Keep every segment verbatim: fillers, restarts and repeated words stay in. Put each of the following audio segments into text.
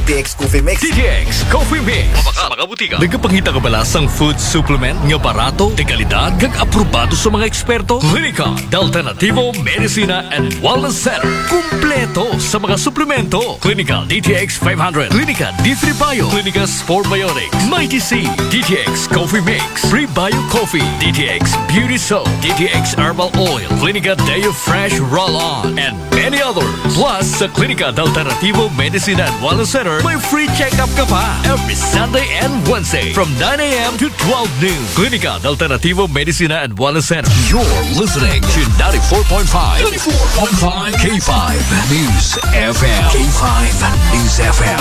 T X Coffee Mix. D T X Coffee Mix. Sa mga butika. Nagapangita ka ba sa food supplement nga barato, de kalidad, kag aprobado sa mga eksperto? Klinika de Alternativo Medicina and Wellness Center. Kumpleto sa mga suplemento. Klinika D T X five hundred, Klinika D three Bio, Klinika Spore Biotics, Mighty C, D T X Coffee Mix, Prebio Coffee, D T X Beauty Soap, D T X Herbal Oil, Klinika Deo Fresh Roll-On, and many others. Plus, sa Klinika de Alternativo Medicina and Wellness Center, may free check-up ka pa every Sunday and Wednesday from nine a.m. to twelve noon. Klinika de Alternativo Medicina and Wellness Center. You're listening to ninety-four point five, ninety-four point five K five News F M. K five News F M.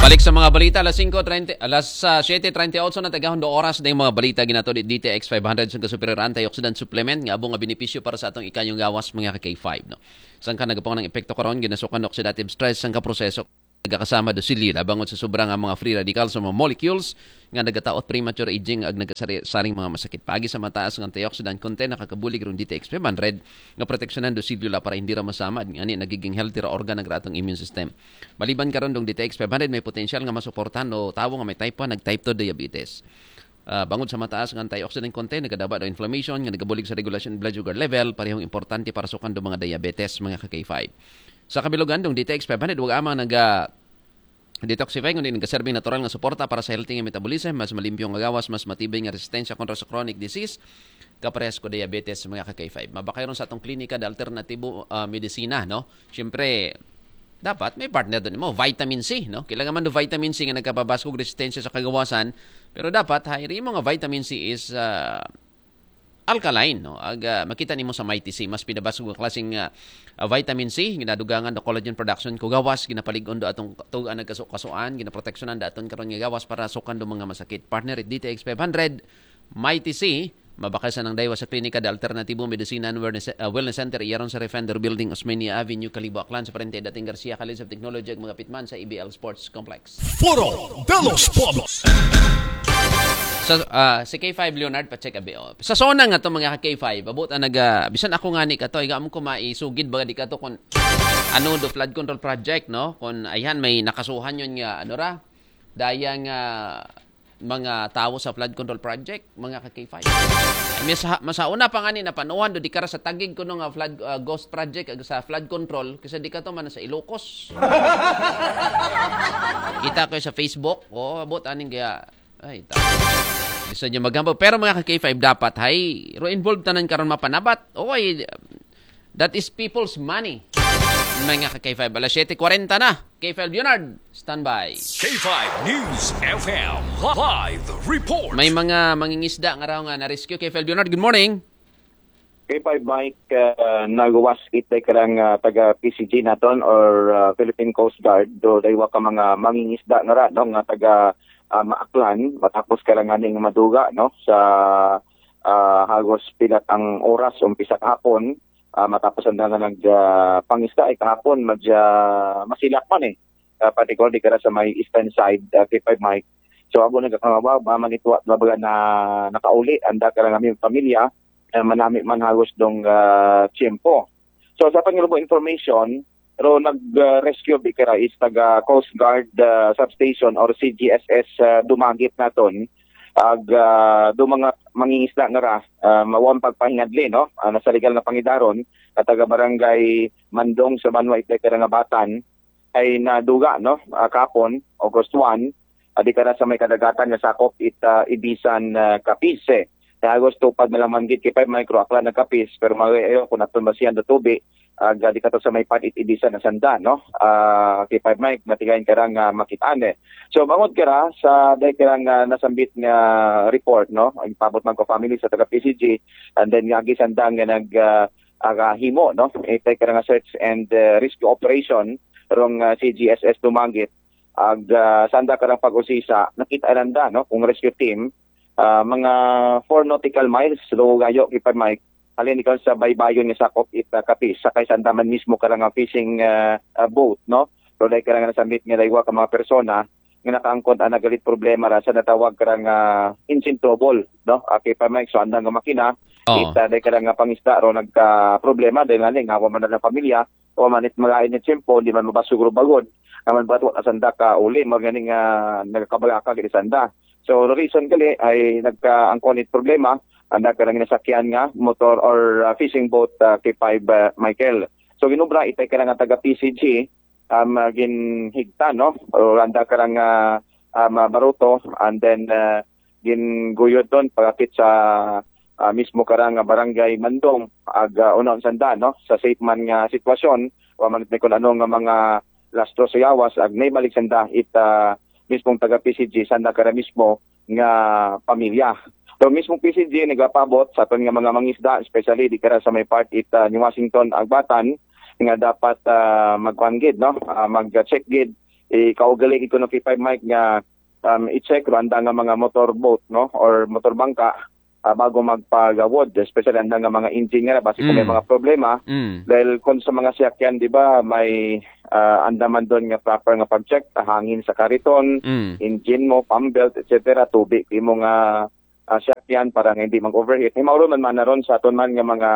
Balik sa mga balita, alas singko treinta, alas ah, siyete treinta y ocho na, tagahon do oras na yung mga balita ginato di D T X five hundred sa kasupereran antioxidant supplement nga abo nga benepisyo para sa atong ikayong gawas, mga ka K five, no? Sangka nagapong ng epekto karon, ginasukan oxidative stress, sangka proseso nagakasama do silyo labangon sa sobra nga mga free radicals sa mga molecules nga nagataot premature aging ag nagasaring mga masakit. Pagi sa mataas nga antioxidant content, nakakabulig rong D T X five hundred nga proteksyonan do silyo la para hindi ra masama, ngani nagiging healthy ra organ ng atong immune system. Maliban karon dong D T X five hundred, may potensyal nga masuportahan o tawo nga may type one nag type two diabetes. Ah, bangod sa mataas nga antioxidant content, nagadaba do inflammation nga nagabulig sa regulasyon blood sugar level, parehong importante para sukan do mga diabetes, mga ka K five. Sa kabilugan dong D T X five hundred, wag amang naga detoxify, kundi nagaserbing natural nga suporta para sa healthy nga metabolism, mas malimpyo nga gawas, mas matibay nga resistensya kontra sa chronic disease, kaparehas ko diabetes, mga ka K five. Mabakay ron sa atong klinika de alternatibo ah, medisina, no? Siyempre, dapat may partner doon mo, vitamin C, no? Kailangan man do vitamin C nga nagkapabasog resistensya sa kagawasan, pero dapat ha imo nga vitamin C is ah, alkaline, no? Ag ah, makita nimo sa Mighty C, mas pinabasog ang klaseng ah, ah, vitamin C, ginadugangan do collagen production ko gawas, ginapalig-on do atong tugan nagkaso-kasuan, ginaproteksyonan daton karon nga gawas para sukan do mga masakit. Partner, D T X five hundred, Mighty C, mabakal sa nang daywa sa Klinika de Alternatibo Medicina and Wellness, ah, Wellness Center, iyaron sa Refender Building, Osmeña Avenue, Kalibo, Aklan, sa parente dating Garcia College of Technology, ag mga pitman sa E B L Sports Complex. Foro de los Pueblos. Sa ah, si K five Leonard, pa-check abi, oh. Sa zona nga to, mga K five, abot ang naga, bisan ako nga ni kato, iga mo ko maisugid baga di kato kung ano do flood control project, no? Kung ayhan may nakasuhan yun nga, ano ra, daya nga mga tawo sa flood control project, mga ka K five. Mas, masauna pa nga ni napanuhan do di kara sa tagig kuno nga flood ah, ghost project ag sa flood control, kasi di kato man sa Ilocos. Kita ko sa Facebook, oh, abot aning kaya, ay, ta. Gusto niyo maghambog. Pero mga ka K five, dapat hay ro involved tanan karon mapanabat. Okay, that is people's money. Mga ka K five, alas siyete kwarenta na. K five Leonard, standby. K five News F M live report. May mga mangingisda nga raw nga na-rescue. K five Leonard, good morning. K five Mike, uh, nagawas it day karang uh, taga P C G naton or uh, Philippine Coast Guard do daywa ka mga mangingisda nga ra, no, nga taga uh, Maaklan matapos karang aning maduga, no, sa uh, hagos pilat ang oras umpisa kahapon, uh, matapos ang nga nag uh, pangisda ay kahapon madya masilak man eh, uh, particularly kara sa may eastern side, uh, K five Mike. So abo nagkakangawa ba manitwa ba na nakauli anda karang aming pamilya, uh, manami man hagos dong uh, tiyempo. So sa pangilubo information, ro nag-rescue bi kara is taga Coast Guard uh, Substation or C G S S uh, Dumagit naton. Ag uh, do mga mangingisda nga ra, uh, mawang pagpahingadli, no? Uh, nasa legal na pangidaron, at taga barangay Mandong sa Banwa, itay kara nga batan, ay naduga, no? Uh, kapon, August one, adi kara sa may kadagatan nga sakop it uh, Ibisan uh, Capiz. Kaya Agosto pag nalamanggit kay five micro akla ng Capiz, pero magayo kung naton ba siya tubi, ag di kato sa may panit ibisan na sanda, no? Ah, kay five mic matigayon karang uh, makitaan eh. So bangod kara sa dahil karang uh, nasambit nga report, no? Ang pabot man ko family sa taga P C G, and then nga agi sanda nga nag uh, aga himo, no? Itay karang uh, search and uh, rescue operation rong uh, C G S S Dumangit, ag uh, sanda karang pag-usisa nakita nanda, no, kung rescue team uh, mga four nautical miles lugayo kay five mic halin ikaw sa baybayon nga sakop it uh, Capiz, sakay sa andaman mismo karang uh, fishing uh, uh, boat, no? Pero dahil karang nasambit nga daywa ka mga persona nga nakaangkon ang nagalit problema ra sa natawag karang uh, engine trouble, no? Uh, kay five mic, so andang nga makina, Oo. It uh, dahil karang uh, pangisda ro nagka problema dahil nga ni ngawa man na ng pamilya, o man it magain ni tiyempo, di man mabasog ro bagod. Naman ba wa sanda ka uli, mga ganing uh, nagkabalaka gid sanda. So the reason gali ay nagkaangkon it problema, anda ka lang nasakyan nga motor or uh, fishing boat uh, K five uh, Michael. So ginubra itay ka lang taga P C G, um, uh, ginhigta, no? O anda ka lang uh, um, uh, baruto, and then uh, ginguyod ton pagapit sa uh, mismo karang nga barangay Mandong ag uh, unaon sanda, no, sa safe man nga sitwasyon, wa man may kun ano nga mga lastro sa yawas ag naibalik sanda it uh, mismong taga P C G sanda kara mismo nga pamilya. So mismong P C G nagapabot sa aton nga mga mangisda, especially di kara sa may part it uh, ni Washington Agbatan nga dapat uh, magkuan gid, no, uh, mag-check gid, ikaugali gid kuno K five Mike nga um, i-check ro anda nga mga motorboat, no, or motorbangka uh, bago magpagawod, especially anda nga mga engine nga basi kung may mga problema. Dahil kung sa mga siyakyan, di ba, may uh, anda man doon nga proper nga pag-check, hangin sa kariton, engine mo, pump belt, et cetera, tubig imo nga uh, siyakyan para nga hindi mag-overheat. Himaw ron man man na ron sa aton man nga mga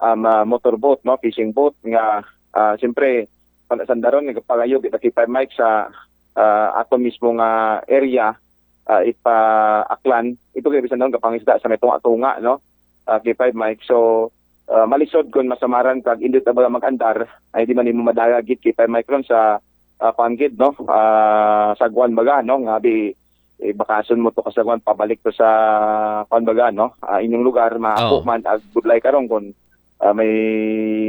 um, uh, motorboat, no, fishing boat nga uh, siyempre pala sandaron nga pagayo kita kay Mike sa uh, ato mismo nga area uh, ipa-Aklan. Ito kay bisan daw kapangisda sa may tunga-tunga, no? Uh, kay Mike. So uh, malisod kung masamaran kag indot na ba mag-andar, ay di man imo madala gid kay Mike ron sa uh, panggid, no? Uh, sagwan baga, no? Nga bi eh, bakason mo to kasagwan pabalik to sa kuan baga, no? Uh, inyong lugar, maako man ag budlay karon kung uh, may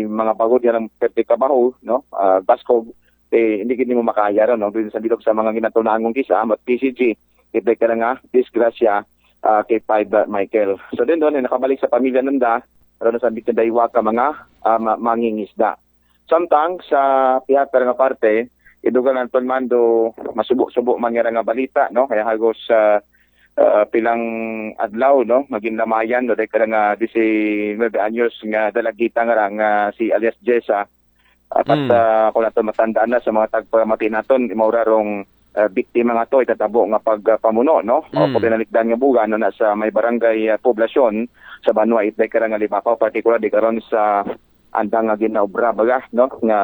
mga bagod yan ang perte kabaho, no? Uh, baskog, eh, hindi gid mo makaya ron, no? Dun sa bilog sa mga ginatunangon kisa, mat P C G, kita ka nga disgrasya uh, kay five uh, Michael. So din doon, eh, nakabalik sa pamilya nanda, ron sa bitin daywa ka mga uh, mangingisda. Samtang sa pihak nga parte, idugang Anton Mando, masubo-subo man nga nga balita, no? Kaya hagos sa uh, pilang adlaw, no? Maging lamayan, no? Dahil ka nga diecinuebe anyos nga dalagita nga nga si alias Jessa. Apat mm. uh, kung nato matandaan na sa mga tagpamati naton, imaura rong uh, biktima nga to itatabo nga pagpamuno, no? Mm. O kung pinalikdan nga bugan, no? Na sa may barangay uh, poblasyon sa Banwa Itday Karang Alibacaw, particular di karon sa andang nga ginaobra baga, no, nga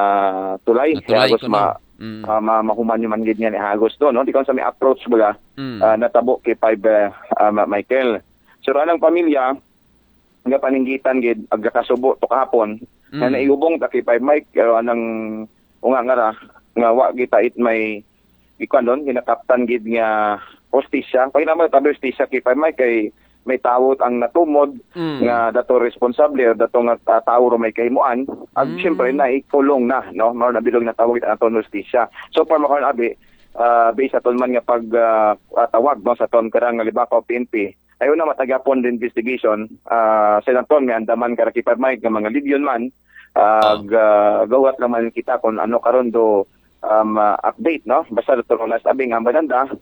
tulay. Tulay ko ma, mm. uh, ma, mahuman man gid niya ni hagos do, no, di sa may approach baga mm. uh, natabo kay five uh, uh, Michael. So anang pamilya nga paninggitan gid agakasubo to kahapon mm. na naiubong ta kay five Mike, pero anang unga nga ra nga wa kita it may ikaw nun, ginakaptan gid nga hostisya. Pag naman tabi hostisya kay Pamay kay may tawot ang natumod mm. nga dato responsable o dato nga uh, tao ro may kahimuan. At mm. siyempre na ikulong na, no? Mao na bilog na tawag ang aton hostisya. So far makaon abi uh, based aton man nga pag uh, tawag no sa aton karang nga libakaw P N P. Ayo na matagapon the investigation uh, sa naton nga andaman kara kay Pamay nga mga libyon man uh, uh, gawat naman kita kung ano karon do um, uh, update, no? Basta Doctor Ronas Abing ang bananda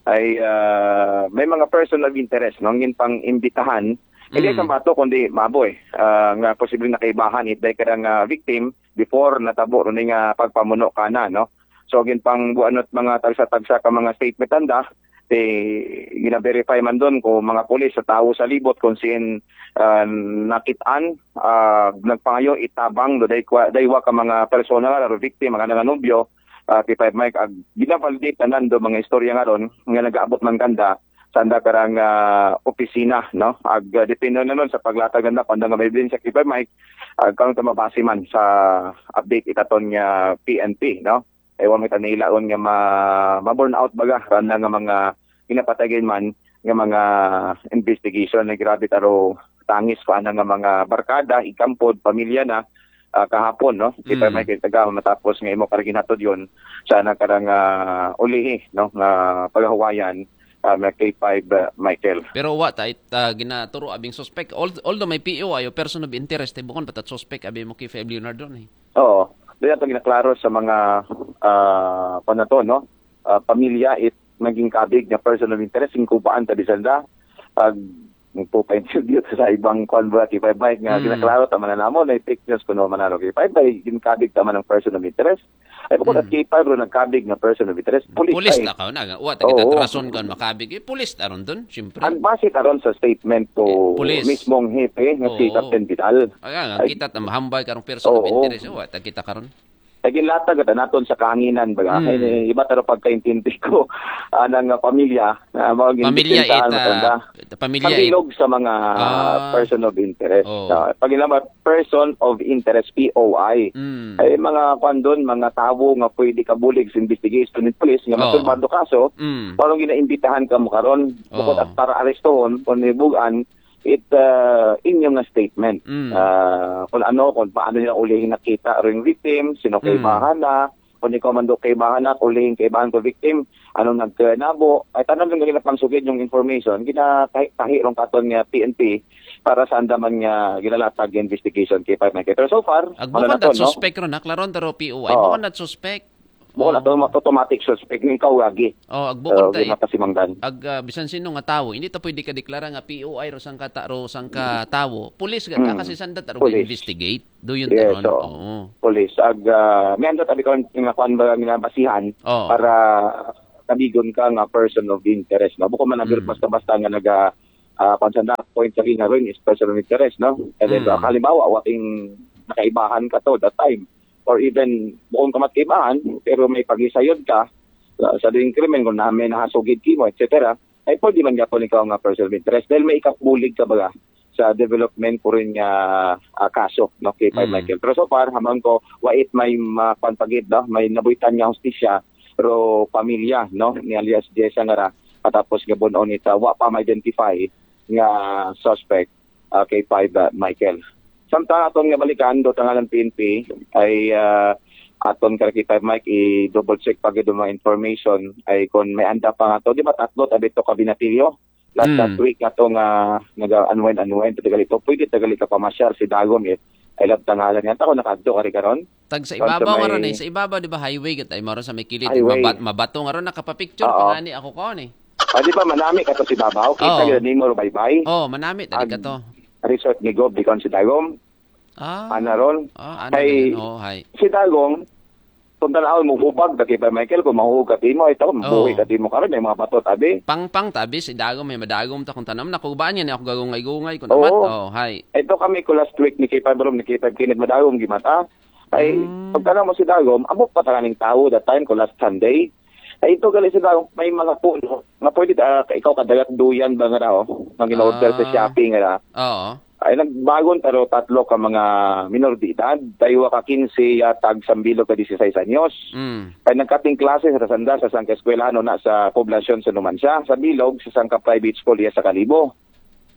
ay uh, may mga person of interest, no? Ngin pang imbitahan, hindi mm. sa bato kundi maboy uh, nga posibleng nakaibahan it dahil karang uh, victim before natabo ron nga pagpamuno kana, no? So gin pang buanot mga tagsa-tagsa ka mga statement anda, ti gina-verify man doon kung mga pulis sa tao sa libot kung sin uh, nakitaan uh, nagpangayo itabang do daywa ka mga persona nga victim mga nanganubyo uh, kay Five Mike ag gina-validate tanan do mga istorya nga ron nga nagaabot man kanda sa anda karang uh, opisina, no, ag uh, depende na nun sa paglatag nanda kung nga may evidence kay Five Mike ag uh, kung mabase man sa update itaton nga P N P, no. Ay wa may tanilaon nga ma, ma burn out baga randa nga mga ginapatagan man nga mga investigation na grabe taro tangis ko ana nga mga barkada, ikampod, pamilya na uh, kahapon, no? Kita mm. may kitaga matapos nga imo karang ginhatod yon sa nagkarang uh, ulihi, no, nga pagahuwayan uh, K five uh, Michael. Pero wa ta it uh, ginaturo abing suspect. Although may P O ayo person of interest, bukon patat suspect abi mo K five Leonardo ni. Oo. Doon ito ginaklaro sa mga uh, panato, no? Uh, pamilya it maging kabig na person of interest, singkubaan ta bisanda. Pag nagpo-interview sa ibang convoy, bike nga mm. ginaklaro ta man namo na fake news kuno manaro kay bike ginkabig ta man ang person of interest. Ay ko mm. K five ro nagkabig na person of interest. Pulis, pulis ta ka na. Wa ta kita rason kan makabig. Eh, pulis ta ron doon, syempre. Ang base ta ron sa statement to eh, mismong hepe nga si Captain Vidal. Ay, kita ta mahambay karong person of interest. Wa ta kita karon. Ginlatag at naton sa kahanginan, baga. Mm. Eh, iba taro pagkaintindi ko, anang uh, pamilya, uh, mga Pamilya ginbiktimsahan, it, uh, matanda. pamilya Sa bilog it. Sa mga Ah. person of interest. Oh. Uh, pag naman, person of interest, P O I. Mm. Ay mga kwan doon, mga tawo nga pwede kabulig sa investigation ng police nga Oh. masulbado kaso, Mm. parang ginaimbitahan ka mo karon, bukod Oh. at para arestuhon, kung nibugan, it uh, inyong nga statement. Mm. Ah, kung ano, kung paano niya ulihin nakita rin victim, sino kay Mm. bahana, kung ikaw man do kay bahana, ulihin kay bahan ko victim, anong nagkanabo, ay tanan lang ganyan pangsugid yung information, ginatahi-tahi rong katon nga P N P para sa andaman nga ginalatag investigation kay Five Michael. Pero so far, Ag wala bukod na to, that no? Suspect ron, ha? Klaron taro P O I. Oo. Bukod that suspect. Bukod na to, automatic suspect, yung ikaw lagi. Oh, ag bukod So, ta di makasimangdan. Ag ah, bisan sino nga tawo, hindi ta pwede ka deklara nga P O I ro sang kata ro sang ka tawo. Police ga ta Mm. kasi sanda ta ro Police. Investigate. Do you Yes, taron? oo. Oo. Police. Ag, ah, may andot abi ko nga kwan ba nga basihan Oo. para tabigon ka nga person of interest, no? Bukod man ang Mm. basta-basta nga naga ah, kwan sa na point sa nga rin is person of interest, no? And then, Mm. halimbawa, wating nakaibahan ka to that time, or even bukod ka mat kaibahan, pero may pagisayod ka sa, sa doing krimen, kung na may nahasugid kimo, et cetera, ay pwede man gapon ikaw nga person of interest dahil may ikabulig ka baga sa development ko rin nga ah, kaso, no, kay Five Mm. Michael. Pero so far, hamang ko, wait may makwan pagid, no? May nabuitan nga hustisya, ro pamilya, no, ni alias Jessa nga ra, katapos nga bunon ita, wa pa ma-identify nga suspect ah, kay Five ah, Michael. Samtang aton nga balikan, do tangalan P N P, ay ah, aton ka kay Five Mike, i-double check pa gid ang mga information, ay kung may anda pa nga to, di ba tatlo tabi to kabinatilyo? Last Mm. that week nga to nga naga-unwind, unwind, tagali to, pwede tagali ka pamasyar si Dagom eh. Ay lab tangalan nga, ako nakadto ka rin karon? Tag sa Kung sa ibabaw nga may ron eh. Sa ibabaw, di ba, highway gat ay maro sa may kilid. Highway. Mabat, mabato nga ron, nakapa-picture Oo. pa nga ni ako ko ni. Ah, di ba, manami ka to si Babaw? Kita Oo. yun, nimo ro baybay. Oh, manami, tadi Ag- ka to. Resort ni Gob, di kon si Dagom. Ah. Ana ron? Ah, ano Ay, na yun? Oh, hi. Si Dagom, kung tanaw mo hubag, dati ba, Michael, kung mahuhag ka timo, ay tawag, Oo. buhi ka timo karon, may mga bato, tabi. Pangpang tabi si Dagom, may madagom ta kung tanam na kubaan yan ako gagungay-gungay kung Oo. amat. Oh, hi. Ito kami ko last week ni K five Rom, ni K five Kinit Madagom, gimata. Ay, Mm. pagkana mo si Dagom, amo pa takaning tao that time ko last Sunday. Ay, ito gali si Dagom, may mga puno. Nga pwede, ah, ikaw kadagat duyan ba nga raw? Nga gin-order sa Ah. Shopee nga ra. Oo. Ay, nagbagon taro tatlo ka mga minor de edad, daywa ka quince, yatag sambilog ka dieciséis anyos. Mm. Ay, nagkating klase sa sanda sa sangka eskwelahan na sa poblasyon sa Numancia, sa Bilog, sa sangka private school iya sa Kalibo.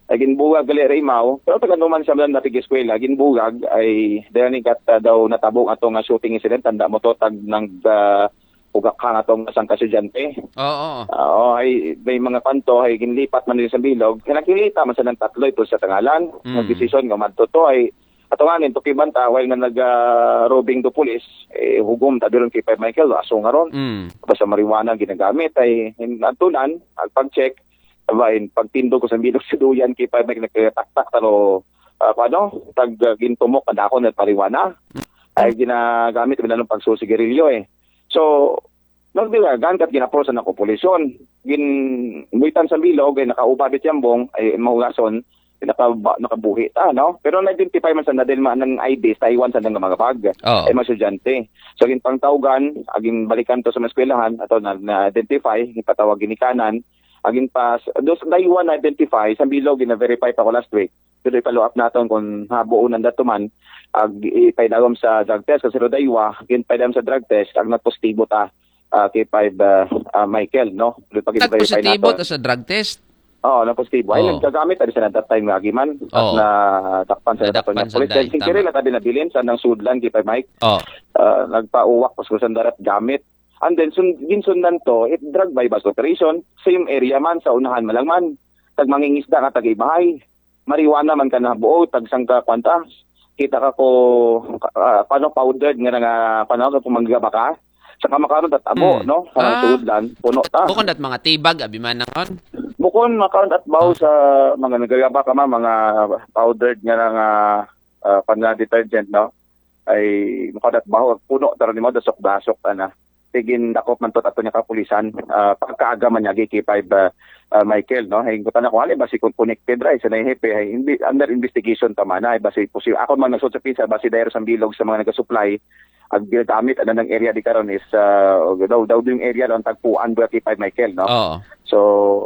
Ay, ginbugag gali ra imaw, pero taga Numancia man napig eskwela, ginbugag ay dahil ni kat ah, daw natabo ato nga shooting incident, tanda mo to, tag nang ah, ugakha nga tong sangka estudyante. Oo. Oo, ay may mga kanto ay ginlipat man din sa Bilog. Kaya nakilita man sa ng tatlo ito sa tangalan. Mm. Nagdesisyon nga madto to ay ato nga nin, tukiban ta, while nga nag-roving do police, eh, hugom ta biron kay Five Michael, aso nga ron. Mm. Basta marijuana ginagamit ay natunan, ang pag-check, aba, in, pagtindog ko sa Bilog sa duyan kay Five Michael, nagkataktak taro, ah, ano, tag ah, gintumok ang dako na pariwana. Ay ginagamit bilang pagsusigarilyo eh. So, nagdilagan kat ginaprosa na ko polisyon. Gin buitan sa Bilog ay nakauba bit yambong ay mahugason, naka, nakabuhi ta, no? Pero na-identify man sa nadil man ng I D sa Taiwan sa nang mga bag. Oo. Ay mga estudyante. So, gin pangtawgan, aging balikan to sa mga eskwelahan, ato na, na-identify, ipatawag ginikanan, aging pas, dos daywa na-identify, sa Bilog, gina-verify pa ko last week. Pero i-follow up naton kung habuon ang datuman, ag ipaidagom sa drug test, kasi ro daywa, gin paidagom sa drug test, ag nagpositibo ta, ah, kay Five ah, ah, Michael, no? Pero pag i-verify Nagpositibo naton. Ta sa drug test? Oo, na positibo. Ay, Oo. Nagkagamit tayo sa that time nga giman. At Oo. na takpan sa Nadakpan California sa Police. day, Then, sincere tama. Na tabi na bilin sa nang sudlan kay Mike. Oh. Ah, nagpauwak pa sa sandarat gamit. And then, sun, ginsundan to, it drug buy-bust operation. Same area man, sa unahan malangman. Tag mangingisda nga taga-ibahay. Marijuana man ka na buo, tag sangka kwanta. Kita ka ko, ah, paano powdered nga nga, paano ka kung manggaba ka? Sa kamakaroon at abo, Hmm. No? Sa Ah. sudlan, puno ta. Bukon dat mga tibag, abi man nangon. Bukon makaroon at baho sa mga nagagaba ka ma, mga powdered nga nga uh, pan nga detergent, no? Ay makaroon at baho, puno taro ni mo, dasok-dasok, ana. Tigin dakop man to ato niya kapulisan, ah, pagkaaga man niya, K five, ah, ah, Michael, no? Ay, kutan ako, hali, basi kung connected ra, sa na hepe, ay, imbi-, under investigation pa man, ay, basi, pusi-, ako man nagsud sa pisa, basi dahil sa bilog sa mga nagasupply, Ang ginagamit, ano, ng area di karon is, ah, daw, daw yung area lang tagpuan ba kay Five Michael, no? Oo. So,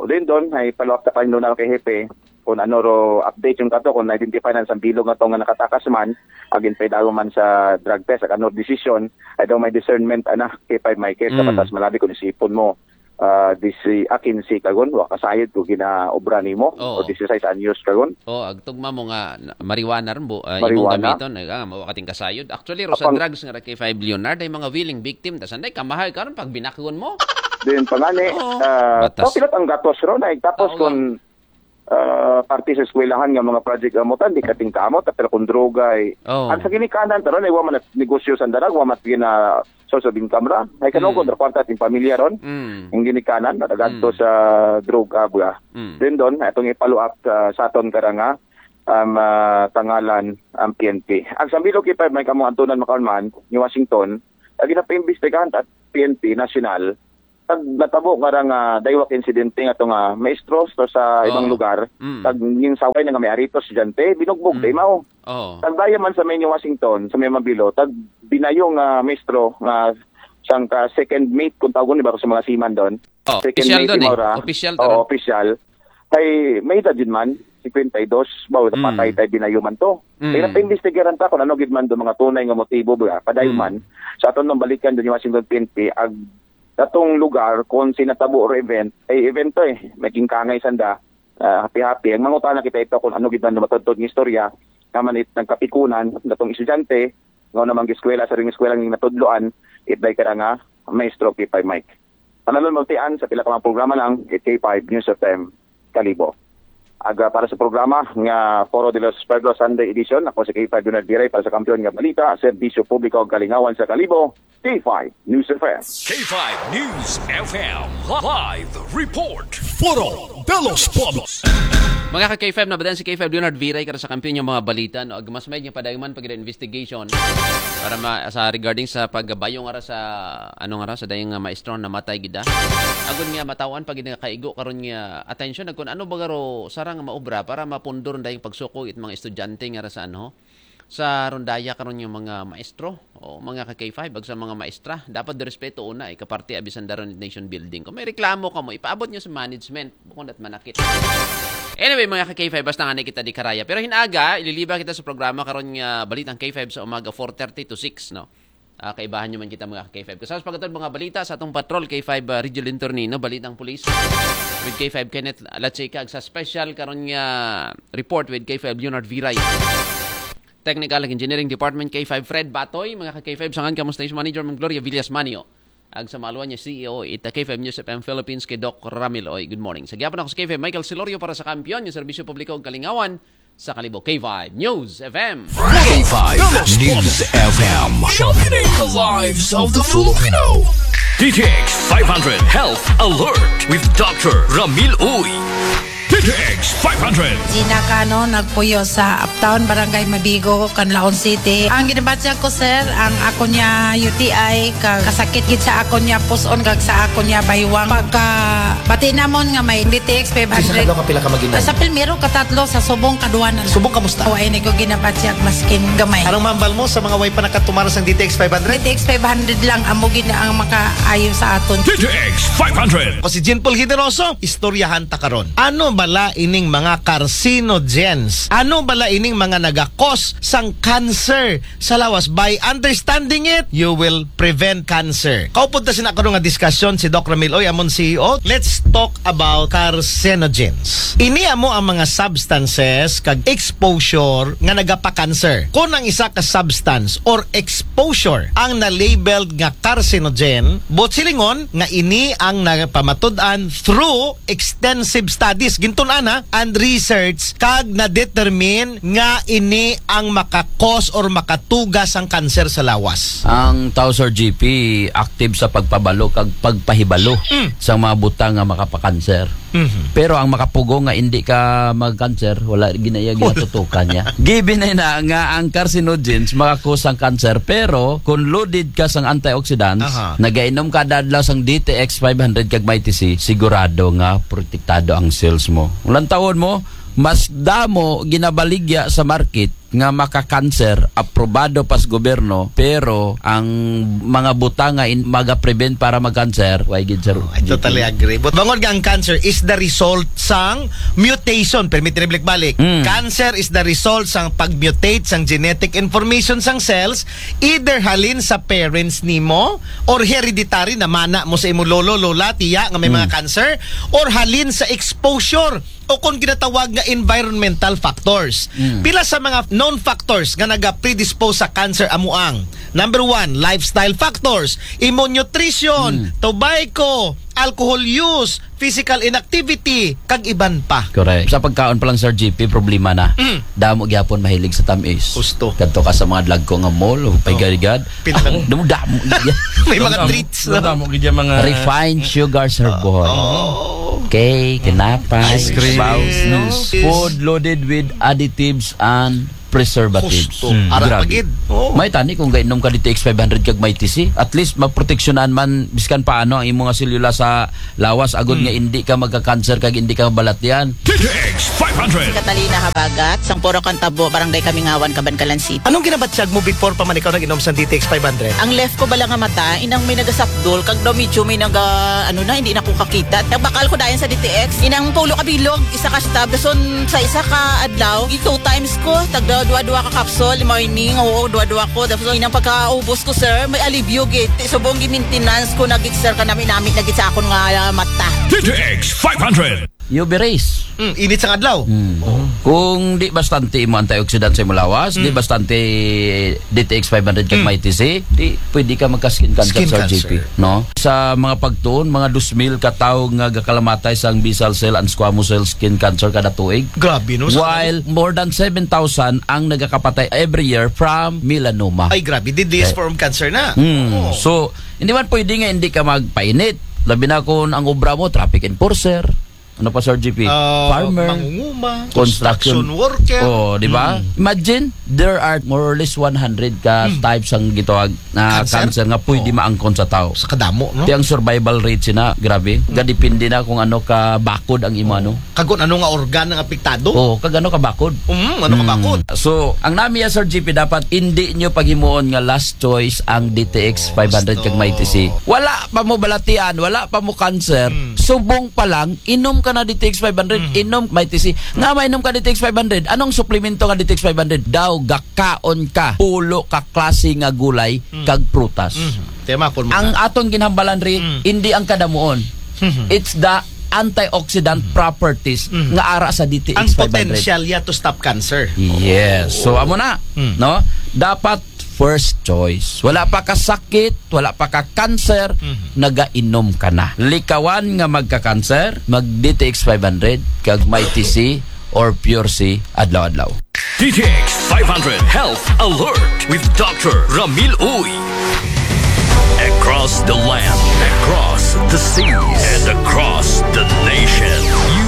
din doon, ay follow up ta pa yung doon kay Hepe kung ano ro update yung kato, kung na-identify na sa bilog nga to nga nakatakas man, agin pa daw man sa drug test, ag ano decision, ay daw may discernment, ana, kay Five Michael, sa Mm. batas malabi kung isipon mo, ah, disi, akin si kagon, wa kasayod ko ginaobra nimo, Oo. o disisais anyos kagon. Oh, agtugma mo nga na- marijuana ron, bu, uh, Marijuana? Imong gamiton, ay, ah, mawakating kasayod. Actually, ro sa Apang- drugs nga ra kay Five Leonard, ay mga willing victim, tas anday kamahay karon pag binakgon mo. Din pangani, Oo. ah, Batas. papilat ang gatos ron, ay tapos Oo, kung ah, parte sa eskwelahan nga mga project amutan, di kating kamot, pero kung droga ay, Oo. ang sa ginikanan, taron ay wa man at negosyo sa darag, wa man at gina source of income ra. Ay kanong Mm. kontra kwarta at yung pamilya ron, Mm. ang ginikanan, natagadto Mm. sa droga, ba. Mm. Then doon, itong i-follow up sa, sa aton karanga, um, ah, tangalan, ang P N P. Ang sambilog kay Five, may kamong antunan makaon man, ni Washington, ang ginapaimbestigahan at P N P National, tag natabo nga ra nga daywak insidente nga to nga maestro to sa ibang Oo. lugar, Mm. tag ginsaway na nga may arito estudyante, binugbog Mm. ta imaw. Oh. Tag daya man sa may New Washington, sa may Mabilo, tag binayo nga maestro nga siyang ka second mate kung tawgon ni ba sa mga seaman doon. Oh, Second official mate doon eh. imaw ra. Official Oo, doon. Official. Ay, may edad yun man, fifty-two, bawo Mm. napatay tayo binayo man to. Mm. Kaya napaimbestigaran ta kung ano gid man do mga tunay nga motibo ba, padayon Mm. man. Sa aton nang balikan doon yung Washington P N P, ag datong lugar kung sinatabo or event, ay event to eh, may kingkangay sanda, ah, happy-happy. Ang mangutana kita ito kung ano gid man do matudtod ng istorya, naman it nagkapikunan, datong estudyante, nga namang eskwela sa ring eskwela ng natudloan, it day ka nga maestro P five Mike. Panalon mo tian sa pila ka mga programa ng K five News F M Kalibo. Aga para sa programa nga Foro de los Pueblos Sunday Edition, ako si K five Leonard Viray para sa Kampiyon nga Balita, Serbisyo Publiko ug Kalingawan sa Kalibo, K five News F M. K five News F M live report. Foro de los Pueblos. Mga ka K five, nabatian si K five Leonard Viray kara sa Kampiyon nga mga balita, no? Ag mas may nga padayon man pag investigation para ma, sa regarding sa pagbayong ara sa ano nga ra sa dayang nga maestro namatay gid, ah. Agon nga matawan pag nga kaigo karon nga atensyon, ag kun ano ba garo sarang maobra para mapundor dayang pagsuko it mga estudyante nga ra sa ano, sa rondaya karon nga mga maestro o mga ka K five ag sa mga maestra. Dapat respeto una, eh, kaparte abisan daron nation building. Kung may reklamo ka mo, ipaabot nyo sa management. Bukon at manakit. Anyway, mga ka K five, basta nga na kita di karaya. Pero hinaga, ililiba kita sa programa karon nga Balitang K five sa umaga, four thirty to six, no? Ah, kaibahan nyo man kita, mga K five. Kasama sa pagkatod mga balita sa atong patrol, K five, ah, Region Internino, Balitang Pulis with K five Kenneth Lachica, sa special karon nga report with K five Leonard Viray. Technical and Engineering Department, K five Fred Batoy, mga ka K five, sangan kamo Station Manager, Ma'am Gloria Villas Manio. Ag sa maluan niya, C E O, ita K five News F M Philippines, kay Doc Ramil Oy. Good morning. Sa gihapon ako sa K five, Michael Silorio para sa Kampiyon, yung Serbisyo Publiko ug Kalingawan sa Kalibo. K five News F M. K five News F M. Sharpening the lives of the Filipino. D T X five hundred Health Alert with Doctor Ramil Uy. D T X five hundred. Gina Cano, nagpuyo sa Uptown, Barangay Mabigo, Canlaon City. Ang ginabatyag ko, sir, ang ako niya U T I, ka, kasakit gid sa ako niya puson, kag sa ako niya baywang. Pagka, pati namon nga may D T X five hundred. Sa kadlaw ka pila ka mag-inom? Sa primero, katatlo, sa subong, kaduha na. Subong, kamusta? O, ay, ko ginabatyag, maskin gamay. Anong mambal mo sa mga way pa nakatumara sa D T X five hundred? D T X five hundred lang, amo gid na ang makaayo sa aton. D T X five hundred. Ako si Jean Paul Generoso, istoryahan ta karon. Ano bala ining mga carcinogens? Ano bala ining mga nagakos sang cancer sa lawas? By understanding it, you will prevent cancer. Kaupod ta sina karon nga diskusyon si Doc Ramil Oy, amon C E O. Let's talk about carcinogens. Ini amo ang mga substances kag exposure nga nagapa-cancer. Kung ang isa ka substance or exposure ang na-labeled nga carcinogen, buot silingon nga ini ang napamatud-an through extensive studies, gintun-an na, and research, kag na-determine nga ini ang maka-cause or makatuga sang cancer sa lawas. Ang tao, Sir G P, active sa pagpabalo kag pagpahibalo sa mga butang nga makapakanser. Pero ang makapugo nga hindi ka magkanser, wala ginaya ginatutukan niya. Given na nga ang carcinogens makakusang cancer, pero kung loaded ka sang antioxidants, Aha. nagainom ka kada adlaw sang D T X five hundred kag Mighty C, sigurado nga protektado ang cells mo. Ulan taon mo, mas damo ginabaligya sa market nga maka-cancer, aprobado pa sa gobyerno, pero ang mga butang nga in, maga-prevent para mag-cancer, way gid, sir. I totally agree. But bangod nga ang cancer is the result sang mutation, permit rin balik-balik. Mm. Cancer is the result sang pag-mutate sang genetic information sang cells, either halin sa parents nimo or hereditary, namana mo sa imo lolo, lola, tiya nga may mga cancer, or halin sa exposure o kung ginatawag nga environmental factors. Mm. Pila sa mga known factors nga naga-predispose sa cancer amo ang: number one, lifestyle factors, imo nutrition, tobacco, alcohol use, physical inactivity, kag iban pa. Correct. Sa pagkaon pa lang, Sir G P, problema na. Mm. Damo gyapon mahilig sa tamis. Husto. Kadto ka sa mga dlagko nga mall, o paigarigad. Pinang- Damo, damo. May mga treats, no? Damo gid yung mga Refined sugars, Sir Boy. Oh. Cake, tinapay, Ice cream. Baos, No. food loaded with additives and preservatives. Husto. Ara pa Grabe. Gid. Oh. May tani kung gainom ka D T X five hundred kag Mighty C. At least maproteksyonan man biskan paano ang imo nga selula sa lawas, agod nga hindi ka magka-cancer kag hindi ka mabalatian. D T X five hundred. Catalina Habagat, sang Poro Cantabo, Barangay Kamingawan, Kabankalan City. Anong ginabatyag mo before pa man ikaw nag-inom sa D T X five hundred? Ang left ko bala nga mata, inang may nagasapdol, kag daw medyo may naga, ano na, hindi na ko kakita. Nagbakal ko dayon sa D T X, inang pulo ka bilog, isa ka stab, dason sa isa ka adlaw, two times ko, tagda dua-dua ka capsule, morning, oo, dua-dua ko. Tapos inang pagkaubos ko, sir, may alibyo gid. Subong gi-maintenance ko na gid, sir, kanami-nami na gid sa akon nga, ah, mata. D T X five hundred. U V rays. Mm, init sang adlaw. Hmm. Kung di bastante imo antioxidant sa imo lawas, di bastante D T X five hundred kag Mighty C, di pwede ka magka-skin cancer, Skin Sir cancer. G P. No? Sa mga pagtuon, mga dos mil ka tawo nga gakalamatay sang basal cell and squamous cell skin cancer kada tuig. Grabe, no? Sa- While more than seven thousand ang nagakapatay every year from melanoma. Ay, grabe. Deadliest form of cancer na. Hmm. Oo. So, hindi man pwede nga hindi ka magpainit. Labi na kung ang obra mo, traffic enforcer. Ano pa, Sir G P? Ah, Farmer. Mangunguma, Construction. Construction worker. Oh, di ba? Imagine, there are more or less one hundred ka types ang gitawag na Cancer? Cancer nga pwede maangkon sa tao. Sa kadamo, no? Ti ang survival rate sina, grabe. Gadepende na kung ano ka bakod ang imo, ano. Kagon ano nga organ ang apektado? Oh, kag ano ka bakod. Mm, ano ka bakod? So, ang nami ya, Sir G P, dapat hindi nyo paghimuon nga last choice ang D T X five hundred kag Mighty C. Wala pa mo balatian, wala pa mo cancer, subong pa lang, inom ka na D T X five hundred, inom Mighty C. Nga mainom ka D T X five hundred, anong suplemento nga D T X five hundred? Daw, gakaon ka, pulo ka klase nga gulay, kag prutas. Tema po mo. Ang aton ginhambalan ri, hindi ang kadamuon. It's the antioxidant properties nga ara sa D T X Ang five hundred. Potential ya to stop cancer. Yes. So, amo na, no? Dapat first choice. Wala pa ka sakit, wala pa ka cancer, nagainom ka na. Likawan nga magka-cancer, mag D T X five hundred, kag Mighty C or Pure C, adlaw-adlaw. D T X five hundred Health Alert with Doctor Ramil Uy. Across the land, across the seas, and across the nation, you